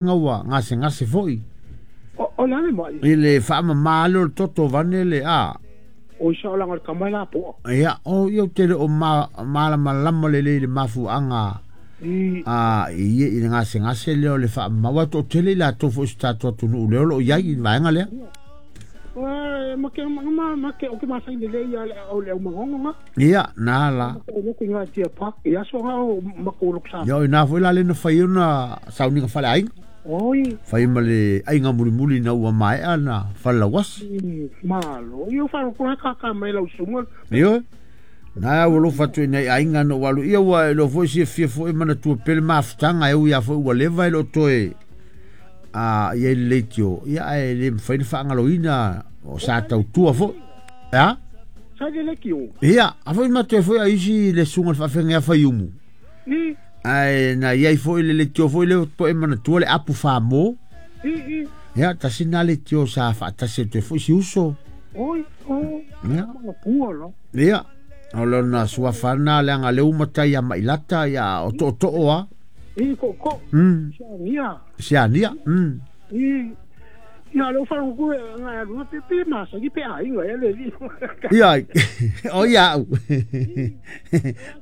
Ua gasegase foi. O le a le mai? I le faamama lea o le toto vane le a. O i saolaga o le tama e lapoa. Ia, o ia ou te le o malamalama lelei i le mafuaaga a i i le gasegase lea o le faamama. Aua e toatele i latou foi o si tatou atunuu lea o lo o i ai i le vaega lea. Ia, na la. Ia, o ina foi la lea na fai ai ona sauniga faleaiga. Fai ma le aiga mulimuli ina ua maea na falelauasi. Ioe. Na ua alofa atu i nai aiga na ou alu ia ua iloa foi silafia foi manatua pea le mafutaga e ui lava foi ua leva e le o toe a i ai le leitio, ia ae le mafai ona faagaloina o sa tautua foi. A? Sa i le leitio. Ia, a foi matou foi a isi le susuga i le faafeagaiga Faiumu. Ae na i ai foi le leitio foi lea po e manatua le apu famo. Ia, tasi na leitio sa faatasi atu ai foi si uso. Oi, oh, Ia. manatua la. Ia, o lona suafa na leaga lea ua matai ia Mailata, ia o tootoo a. I tootoo. Siania. Siania. I ia le whanau ku nga alu pe pe ma sa ki pe ai nga le li. Ia, o ia au.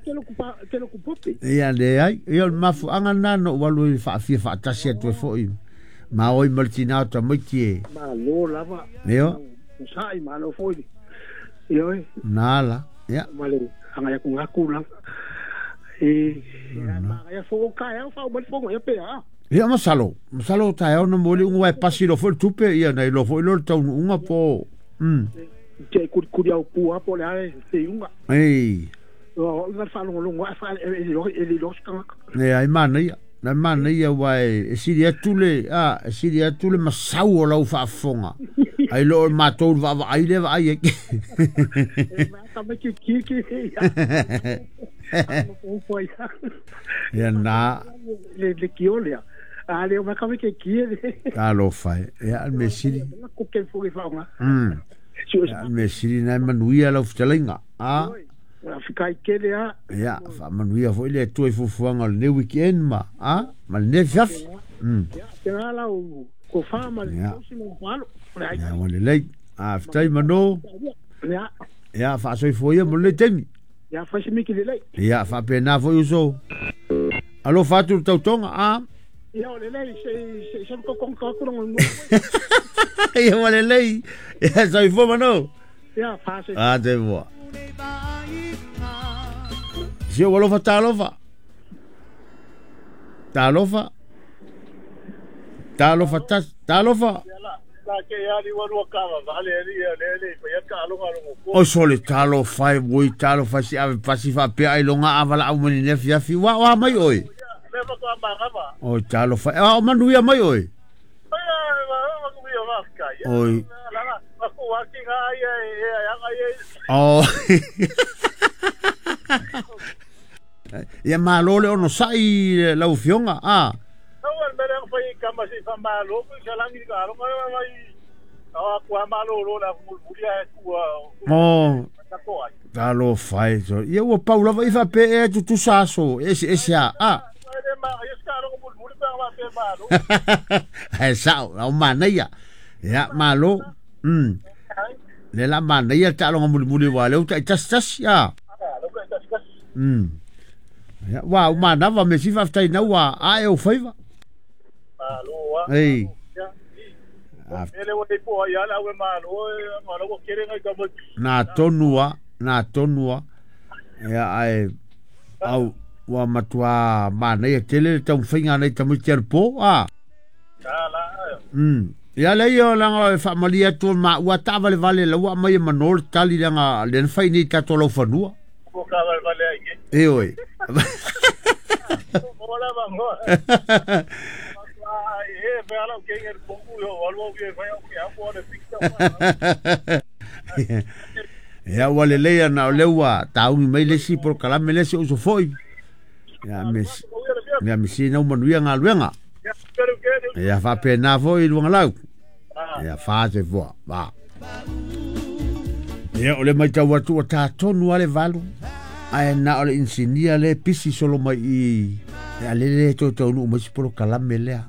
Te lo ku pa te lo ku pope. Ia le ai, ia o le mafuaaga lena na ou alu ai faafia faatasi atu ai foi. Ma oi ma le tina o tamaiti e. Malo lava. Io. Sa'i malo foi. Ioe. Na la. Ia. Ma le anga ia ku ngaku la. E ma ia fo ka ia fa o fo ia pe a. Ia masalo, masalo taeao na mo le unga e pasi lo foi le tupe ia na iloa foi lo le taunuuga po. Te kuri kuri au pua po le ai te unga. Ei. O nga whaalongolongo a wha e e e lo skanga. E ai manaia, na manaia ua e sili atu le a e sili atu le masau o lau faafofoga. Ai lo o matou le vaavaai le vaai ai. E ma ka me ki ki ki. Ia na Le le kiolea. A le o ma ka me ki ki le. Talofa e. Ia le mea sili. Ko ke fo i whaonga. Ia le mea sili na e manuia lau fetalaiga. A. Whika i kele a. Ia, faamanuia foi le Atua i fuafuaga o lenei weekend ma a ma lenei afiafi. Ia, te ngā lau ko wha ma le tosi mo whalo. Ia, ua lelei. A, fetai mano. Ia. Ia, faasoifua ia mo lenei taimi. Ia, whaisi miki lelei. Ia, faapena foi uso. Alofa atu le tautoga, a. Ia, o lelei, se se se ko kong ka kurang mo. Ia, ua lelei. Ia, soifua mano. Ia, whaase. A, te mua. Si o alofa talofa. Talofa. Talofa tas, talofa. O sole talofa e oi talofa si ave pasi faapea ai loga avala au mani ne afiafi. Wa wa mai oi. Oi talofa. E o manuia mai oi. Oi. Oh. Ia malo le ono sa'i lau afioga a. Oh. Talofa e. Ia ua pau lava i faapea ea tutusa aso eseese a. A. Ae sa'o, au manaia. Ia malo. Le la manaia le taaloga mulimuli aua o lea ua taitasitasi a. Ia, ua manava me si faafetai na ua ae ou faiva. Ei. Na tonu a, na tonu a. Ia ae au ua matua manaia tele le taumafaiga nai tamaiti anapo a. Ia lea ia leaga e faamalie atu o maua taavalevale lau ua aumai e mano le tali leaga lea na fai nei i tatou laufanua. Ioe. Ia ua lelei ana o lea ua taumi mai le isi polokalame lea si ou uso foi. Ia me ia me sina ua manuia galuega. Ia faapena foi i Luagalau. Ia fa se fua. Va. Ia o le matau atu ua tā tonu lava le 8. Ae na o le inisinia lea e pisi solo mai i i, a lele e toe taunuu mai si polokalame lea.